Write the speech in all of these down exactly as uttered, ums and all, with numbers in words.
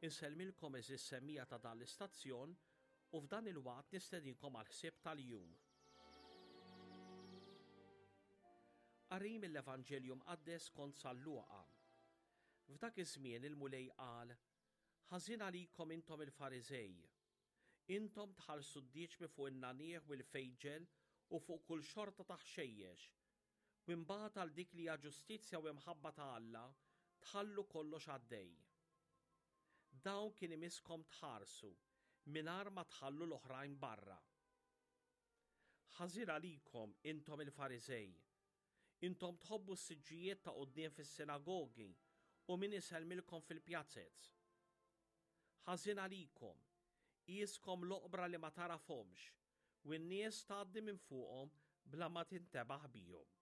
Insellmilkom għeżież semmiegħa ta' dan l-istazzjon u f'dan il-waqt nistedinkom għal ħsieb tal-jum. Qari mill-Evanġelju Mqaddes kont San Luqa. F'dak iż-żmien il-Mulej qal: Ħażin għalikom intom il-Fariżej. Intom tħallsu d-dieċmi fuq in-nagħniegħ u l-fejġel u fuq kull xorta ta' ħxejjex. U imbagħad għal dik li hija ġustizzja u imħabba ta' Alla tħallu kollox għaddej. Dawn kien imisskom tħarsu mingħajr ma tħallu l-oħrajn barra. Ħażin għalikom intom il-Fariżej. Intom tħobbu s-siġġijiet ta' quddiem fis-sinagogi u min isellmilkom fil-pjazez. Ħażin għalikom, qiskom l-oqbra li ma tarafhomx u n-nies tgħaddi minn fuqhom bla ma tintebaħ bihom.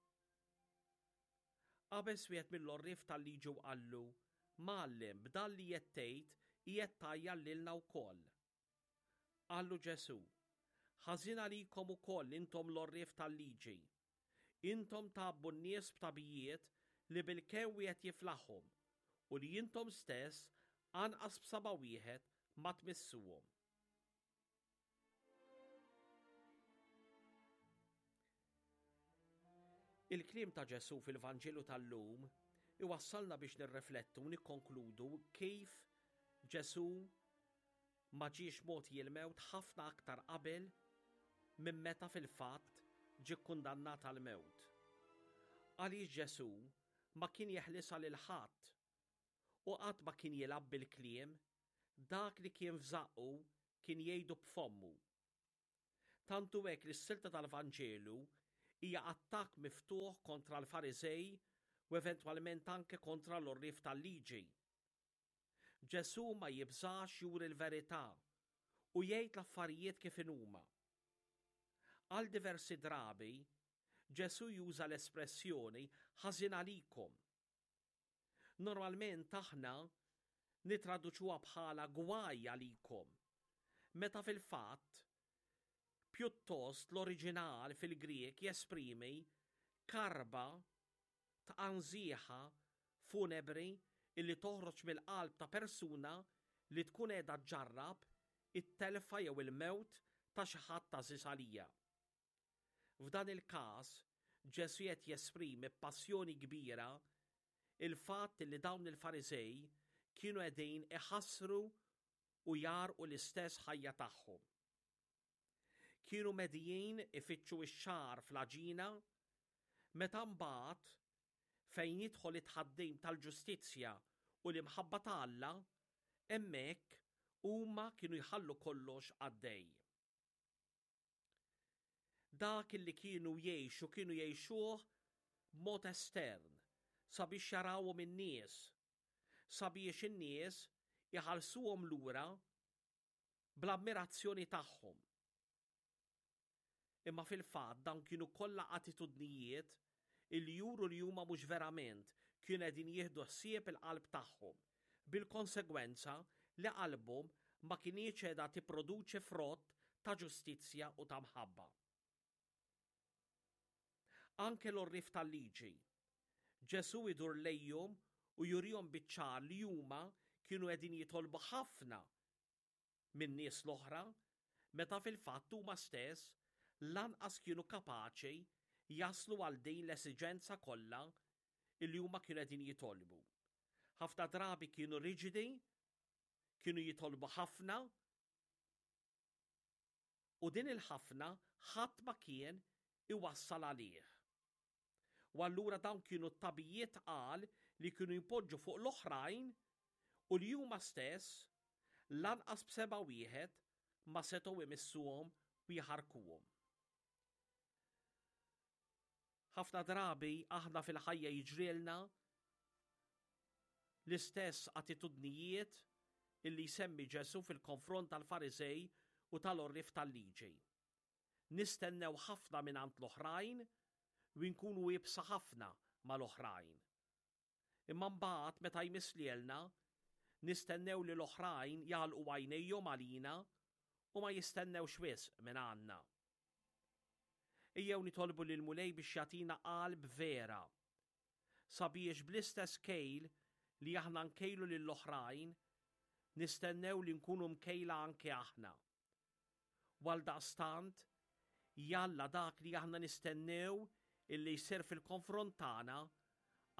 Qabeż wieħed mill-għorrief tal-liġi u qallu, Mgħallem, b'dan li qed tgħid qiegħed tgħajjar lilna wkoll. Qallu Ġesù, Ħażin għalikom ukoll intom l-għorrief tal-liġi. Intom tgħabbu n-nies b'tagħbijiet li bilkemm wieħed jiflaħhom u li intom stess anqas b'saba' wieħed ma tmissuhom. Il-kliem ta' Ġesù fil-Vanġelu tal-lum iwassalna biex nirriflettu u nikkonkludu kif Ġesù ma ġiex mogħti l-mewt ħafna aktar qabel minn meta fil-fatt ġie kkundannat għall-mewt. Għaliex Ġesù ma kien jeħlisha lil ħadd u qatt ma kien jilgħab bil-kliem, dak li kien f'żaqqu kien jgħidu b'fommu. Tant hu hekk li s-silta tal-Vanġelu hija attakk miftuħ kontra l-Fariżej u eventwalment anke kontra l-għorrief tal-liġi. Ġesù ma jibżax juri l-verità u jgħid l-affarijiet kif inhuma. Għal diversi drabi, Ġesù juża l-espressjoni ħażin għalikom. Normalment aħna nitraduċuha bħala gwaj għalikom, meta fil-fatt pjuttost l-oriġinal fil-Grieg jesprimi karba tqanżiħa funebri illi toħroġ mill-qalb ta' persuna li tkun qiegħda ġġarrab it-telfa jew il-mewt ta' xi ħadd għażiż għalija. F'dan il-każ, Ġesù qed jesprimi b'passjoni kbira il-fatt li dawn il-Fariżej kienu qegħdin iħassru u jgħarrqu l-istess ħajja tagħhom. Kienu medijin ifittxu x-xagħar fl-għaġina, meta mbagħad fejn jidħol it-tħaddim tal-ġustizzja u l-imħabba ta' Alla, hemmhekk huma kienu jħallu kollox għaddej. Dak li kienu jgħixu kienu jgħixuh b'mod estern sabiex jarawhom in-nies, sabiex in-nies iħallsuhom lura bl-ammirazzjoni tagħhom. Imma fil-fatt dawn kienu kollha attitudnijiet illi juru li huma mhux verament kienu qegħdin jieħdu ħsieb il-qalb tagħhom, bil-konsegwenza li qalbhom ma kinitx qiegħda tipproduċi frott ta' ġustizzja u ta' mħabba. Anke l-għorrief tal-liġi, Ġesù idur lejhom u jurihom biċ-ċar li huma kienu qegħdin jitolbu ħafna min-nies l-oħra, meta fil-fatt huma stess lanqas kienu kapaċi jaslu għal din l-esiġenza kollha illi huma kienu qegħdin jitolbu. Ħafna drabi kienu riġidi, kienu jitolbu ħafna, u din il-ħafna ħadd ma kien iwassal għalih. U allura dawn kienu t-tagħbijiet tqal li kienu jpoġġu fuq l-oħrajn u li huma stess lanqas b'seba' wieħed ma setgħu imissuhom u jħarkuhom. Ħafna drabi aħna fil-ħajja jiġrilna l-istess attitudnijiet illi jsemmi Ġesù fil-konfront tal-Fariżej u tal-għorrief tal-liġi. Nistennew ħafna mingħand l-oħrajn u nkunu iebsa ħafna mal-oħrajn. Imma mbagħad meta jmiss lilna, nistennew li l-oħrajn jagħlqu għajnejhom għalina u ma jistennewx wisq minn għandna. Ejjew nitolbu lil Mulej biex jagħtina qalb vera, sabiex bl-istess kejl li aħna nkejlu lill-oħrajn, nistennew li nkunu mkejla anke aħna. U għaldaqstant, jalla dak li aħna nistennew illi jsir fil-konfront tagħna,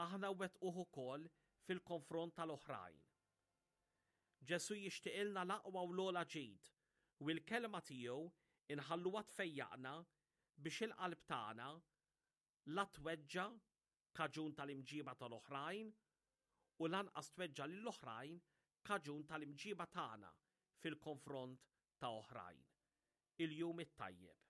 aħna nwettquh ukoll fil-konfront tal-oħrajn. Ġesù jixtieqilna l-aqwa u l-ogħla ġid u l-kelma tiegħu inħalluha tfejjaqna biex il-qalb tagħna la tweġġa' kaġun tal-imġiba tal-oħrajn u lanqas tweġġa' lill-oħrajn kaġun tal-imġiba tagħna fil-konfront ta' oħrajn. Il-jum it-tajjeb.